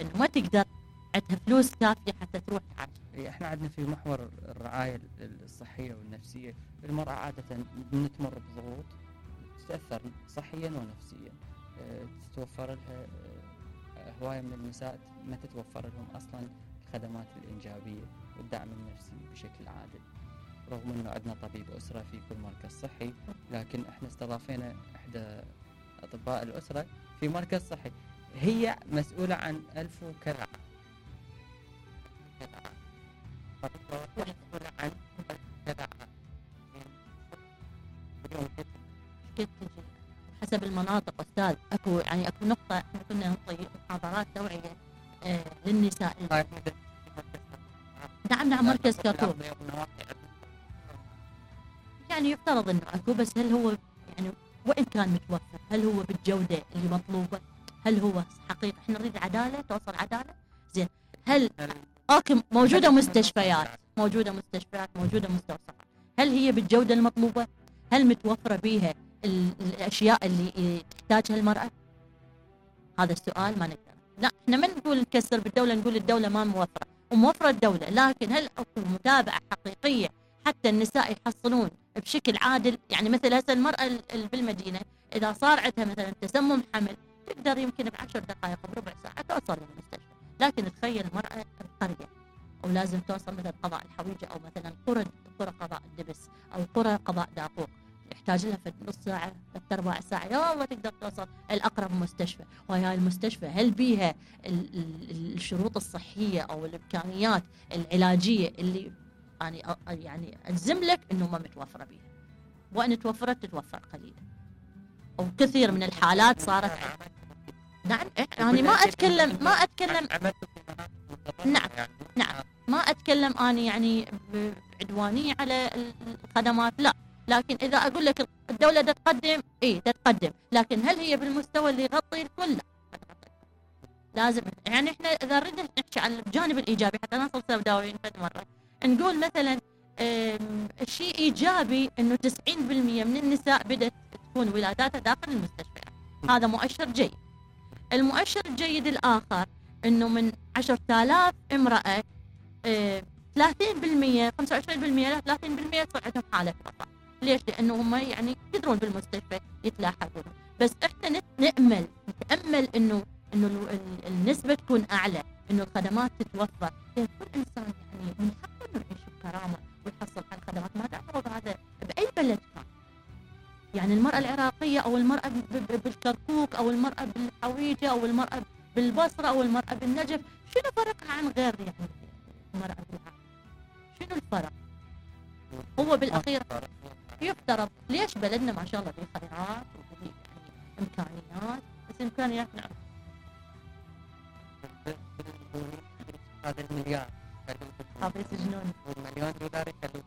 انه ما تقدر عندها فلوس كافيه حتى تروح تعالج. احنا عندنا في محور الرعايه الصحيه والنفسيه، المراه عاده تمر بضغوط تتاثر صحيا ونفسيا، تتوفر لها هوايه من النساء ما تتوفر لهم اصلا الخدمات الانجابيه والدعم النفسي بشكل عادل، رغم انه عندنا طبيب اسره في كل مركز صحي، لكن احنا استضافينا احدى اطباء الاسره في مركز صحي، هي مسؤوله عن 1000 وكذا مسؤوله عن كذا حسب المناطق استاذ. اكو نقطه احنا كنا نعطي محاضرات توعيه للنساء. نعم مركز كركوك يعني يفترض انه اكو، بس هل هو يعني وان كان متوفر هل هو بالجوده اللي مطلوبه؟ هل هو حقيقي احنا نريد عداله، توصل عداله زين؟ هل اوكي موجوده مستشفيات، موجوده مستوصفات، هل هي بالجوده المطلوبه؟ هل متوفره بيها الاشياء اللي تحتاجها المراه؟ هذا السؤال ما نقدر. لا احنا ما نقول نكسر بالدوله، نقول الدوله ما موفره، وموفره الدوله، لكن هل اكو متابعه حقيقيه حتى النساء يحصلون بشكل عادل؟ يعني مثل هسه المراه بالمدينه اذا صار عندها مثلا تسمم حمل تقدر يمكن ب10 دقائق بربع ساعه توصل للمستشفى، لكن تخيل المراه بقريه ولازم توصل مثلا قضاء الحويجه او مثلا قرى قضاء الدبس او قرى قضاء داقوق، يحتاج لها في نص ساعه 3/4 ساعه يا الله تقدر توصل الاقرب مستشفى. وهي المستشفى هل بيها الشروط الصحيه او الامكانيات العلاجيه اللي يعني الزم لك انه ما متوفره بيها، وان توفرت تتوفر قليلا، او كثير من الحالات صارت. نعم يعني ما اتكلم نعم ما اتكلم انا يعني بعدوانيه على الخدمات، لا، لكن اذا اقول لك الدوله تقدم تتقدم، لكن هل هي بالمستوى اللي يغطي الكل؟ لا. لازم يعني احنا اذا ردنا نحكي عن الجانب الايجابي حتى نصل سوداويين فد مره، نقول مثلا الشيء ايجابي انه 90% من النساء بدات تكون ولاداتها داخل المستشفيات، هذا مؤشر جيد. المؤشر الجيد الاخر انه من 10,000 امراه 30% 25% لا 30% صار عندهم حاله وفاه. ليش؟ لانه هم يعني يقدرون بالمستشفى يتلاحقون، بس احنا نتامل انه النسبه تكون اعلى، انه الخدمات تتوفر، لان كل انسان يعني من حقه انه يعيش بكرامه ويحصل على الخدمات، ما تعترض هذا باي بلد كان. يعني المراه العراقيه او المراه بالكركوك او المراه بالحويجه او المراه بالبصره او المراه بالنجف، شنو فرقها عن غير يعني المراه بالعراق؟ شنو الفرق؟ هو بالاخير يفترض ليش بلدنا ما شاء الله فيه خيرات وفيه يعني امكانيات، بس امكانيات نعم هذا المليار هذا يسجنون والمليون دولار يخلوه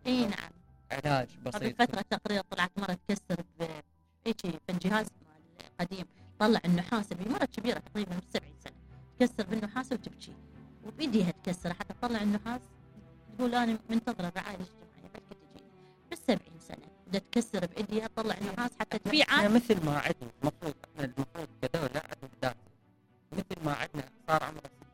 اي نعم علاج بسيط. قبل فتره تقرير طلعت مره تكسر هيك بالجهاز قديم، طلع النحاس بمرة كبيره تقريبا 70 سنه تكسر بالنحاس وتبكي وبيديها تكسر حتى تطلع النحاس، تقول انا منتظره الرعايه الاجتماعيه بلكي تجيني بال70 سنه بدها تكسر بايديها تطلع النحاس حتى تبيعه. مثل ما عندنا المفروض كدوله